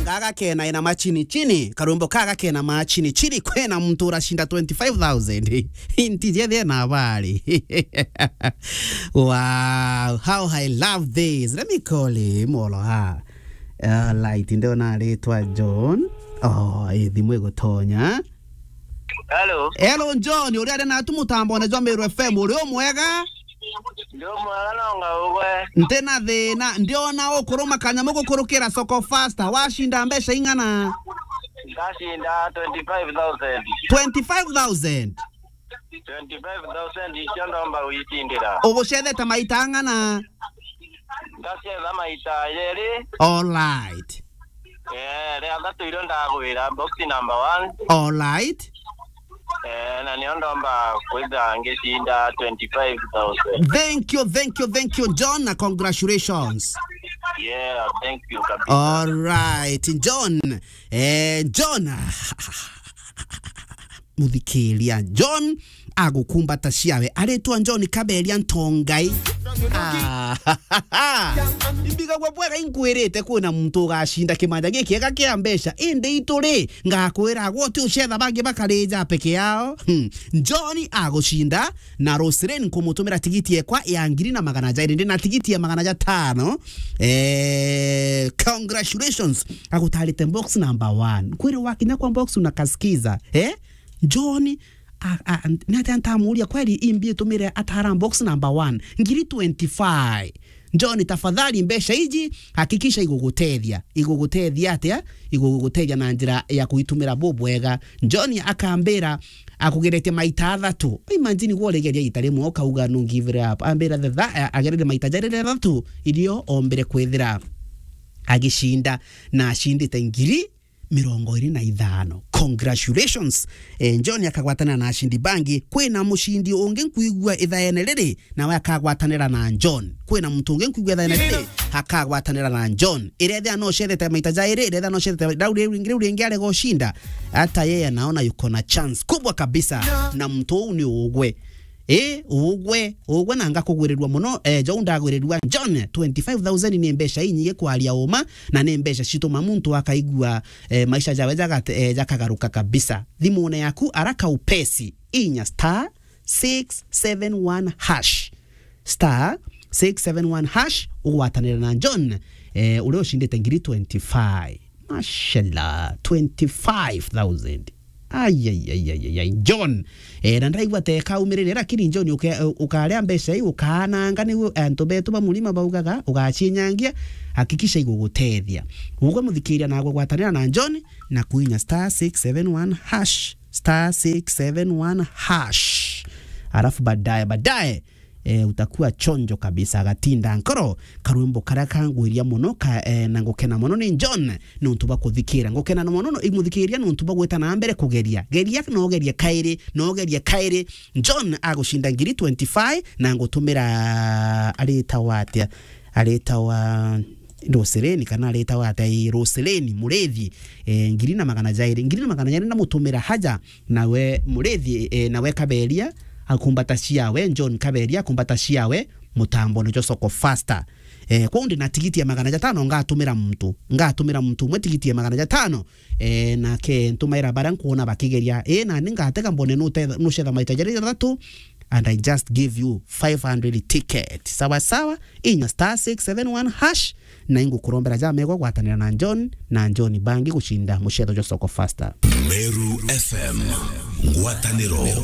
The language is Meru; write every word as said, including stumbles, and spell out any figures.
Kaga kena ina machini chini, karwimbo kaga kena machini chini, kwena muntu urashinda twenty-five thousand. Inti jethe na habari. Wow, how I love this. Let me call him, olo ha. Alright, ndio na aritwa John. Oh, i thimu igutonya. Hello. Hello, John, uri aria natu mutambone jwa Meru F M, uri umwega? Ndi umwega no ngaugwe. Nti na thina, ndiona ukuruma kanyamu gukurukira Soko Faster, washinda mbeca ing'ana? Ndashinda twenty-five thousand. Twenty-five thousand? Twenty-five thousand icio ndomba gwicindira. Ugucethete maita ang'ana? Ndacetha maita jeri. Alright. Eh, ria thatu irio ndagwira, box number one. Alright. Eh, na nio ndomba kwitha ngicinda twenty-five thousand. Thank you, thank you, thank you, John, na congratulations. Yeah, thank you kabisa. Alright, John. Eh, John. Muthikiria, John agukumbata ciawe. Aritwa John Kaberia Ntongai. Ah, imbigagwa bwega, inkwirite kwina muntu ugacinda kimanja gikiega kia mbeca, indi itu ri, ngakwira gwe uti ucetha bangi bakarija peke yao. Hmm. John agucinda na Roselyn nkumutumira tigiti ekwa ya ngiri na magana jairi, ndi na tigiti ya magana jatano. Eh, congratulations. Agutarite box number one. Kwiri wakinya kwa box unakasikiza, eh? John, a, a, ni atia ntamuria kweri imbi itumire atara box number one, ngiri twenty-five. John, tafadhali, mbeca iji, hakikisha igugutethia. Igugutethia atia? Igugutethia na njira ya kuitumira bubwega. John akambira, akugeretie maita athatu. Imagine gwe urigeria ita rimwe ukauga, "No give it up." Ambira the tha-, a-, agererie maita jari athatu, irio ombire kwithira agicinda, na acindite ngiri mirongo iri na ithano. Congratulations. Eh, John akagwatanira na acindi bangi. Kwina mucindi ungi nkwigua ithaene riri, nawe akagwatanira na John. Kwina muntu ungi nkwigua ithaene riri, akagwatanira na John. Irethia no ucethete maita jairi, irethia no ucethete rau riu ringi, riu ringi arega ucinda. Hata yeye anaona yuko na chance kubwa kabisa. Na muntu uu ni ugwe. Ii, ugwe, ugwe na ngakugwirirua muno. Eh, jou ndagwirirua. John, twenty-five thousand ni mbeca inyingi kwaria uma, na ni mbeca cituma muntu akaigua, eh, maisha jawe jagate-, eh, jakagaruka kabisa. Thimune yaku araka upesi, inya star six seven one hash. Star six seven one hash, ugwatanire na John, eh, uria ucindite ngiri twenty-five. Mashallah, twenty-five thousand. Ai, ai, ai, ai, ai, ai. John, eh, na ndaigua te kaumirire, lakini John, uke-, ukaria mbeca iu, ukaananga, niu antu betu ba murima baugaga, ugacinyangia, hakikisha igugutethia. Ugwe muthikiria, na gwatanira na John, na kuinya star six seven one hash, star six seven one hash. Alafu baadaye, baadaye, eh, utakuwa chonjo kabisa. Agatinda nkoro, karwimbo karia kangwiria muno ka, eh, na ngukena muno ni John, nontu bwa kuthikira. Ngukena na muno no, imuthikiria nontu bwa gwita na mbere kugeria. Geria, no gerie kairi, no gerie kairi. John agucinda ngiri twenty-five na ngutumira, aritawa atia? Aritawa Roselyn, kana aritawa atia? Ii, Roselyn Murithi, eh, ngiri na magana jairi. Ngiri na magana jairi ndamutumira haja, nawe Murithi, eh, nawe Kaberia, akumbata ciawe, John Kaberia, akumbata ciawe, mutambone jwa Soko Faster. Eh, kwou ndi na tigiti ya magana jatano, ngatumira muntu, ngatumira muntu umwe tigiti ya magana jatano, eh, nake ntumaira baria nkuona bakigeria. Eh, nani ngatega mbone nutetha-, nucetha maita jaria jathatu, and I just give you five hundred ticket. Sawa sawa, inya star six seven one hash, na ingukurombera jamegwa gwatanira na John, na John bangi gucinda mucetho jwa Soko Faster. Meru F M, ngwataniro ya